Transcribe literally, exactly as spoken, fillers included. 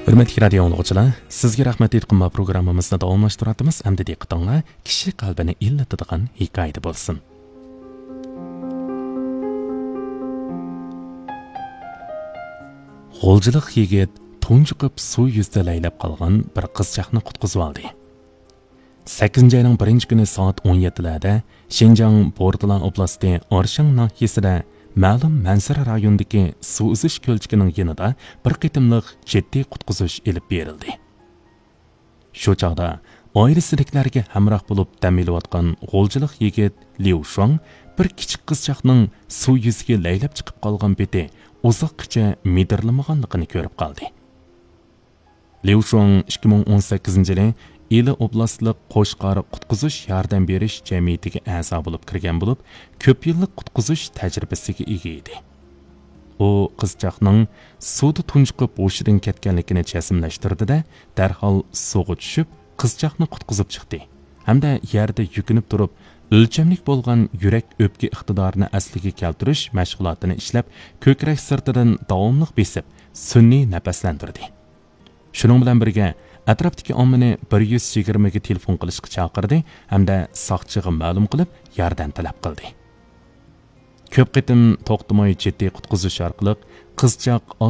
ھۆرمەتلىك رادىيو ئاڭلىغۇچىلار، سىزگە رەھمەت ئېيتقىنىمىز پروگراممىمىزنى داۋاملاشتۇرۇۋاتىمىز. ئەمدى دىققىتىڭلار كىشى قەلبىنى ئىللىتىدىغان ھېكايىدە بولسۇن. غۇلجىلىق يىگىت تۇنجۇقۇپ سۇ يۈزىدە لەيلەپ قالغان بىر قىزچاقنى قۇتقۇزۇۋالدى. سەككىزىنچى ئاينىڭ بىرىنچى كۈنى سائەت ئون يەتتىلەردە شىنجاڭ بورتالا ئوبلاستى ئارشاڭ ناھىيەسىدە مەلۇم مەنزىرە رايونىدىكى سۇ ئۈزۈش كۆلچىكىنىڭ يېنىدا بىر قېتىملىق جىددىي قۇتقۇزۇش ئېلىپ بېرىلدى. شۇ چاغدا ئائىلىسىدىكىلەرگە ھەمراھ بولۇپ دەم ئېلىۋاتقان غۇلجىلىق يىگىت ليۇ شۇاڭ بىر كىچىك قىزچاقنىڭ سۇ يۈزىگە لەيلەپ چىقىپ قالغان پېتى ئۇزاققىچە مىدىرلىمىغانلىقىنى كۆرۈپ قالدى. ليۇ شۇاڭ ئىككى مىڭ ئون سەككىزىنچى يىلى ئىلى ئوبلاستلىق قوچقار قۇتقۇزۇش ياردەم بېرىش جەمئىيىتىگە ئەزا بولۇپ كىرگەن بولۇپ، كۆپ يىللىق قۇتقۇزۇش تەجرىبىسىگە ئىگە ئىدى. ئۇ قىزچاقنىڭ سۇدا تۇنجۇقۇپ ھوشىدىن كەتكەنلىكىنى جەزملەشتۈردى-دە، دەرھال سۇغا چۈشۈپ، قىزچاقنى قۇتقۇزۇپ چىقتى ھەمدە يەردە يۈكۈنۈپ تۇرۇپ، ئۆلچەملىك بولغان يۈرەك ئۆپكە ئىقتىدارىنى ئەسلىگە كەلتۈرۈش مەشغۇلاتىنى ئىشلەپ، كۆكرەك سىرتىدىن داۋاملىق بېسىپ، سۈنئىي نەپەسلەندۈردى. شۇنىڭ بىلەن بىرگە، ئەتراپتىكى ئاممىنى بىر يۈز يىگىرمىگە تېلېفون قىلىشقا چاقىردى ھەمدە ساقچىغا مەلۇم قىلىپ، ياردەم تەلەپ قىلدى. كۆپ قېتىم توختىماي جىددىي قۇتقۇزۇش ئارقىلىق قىزچاق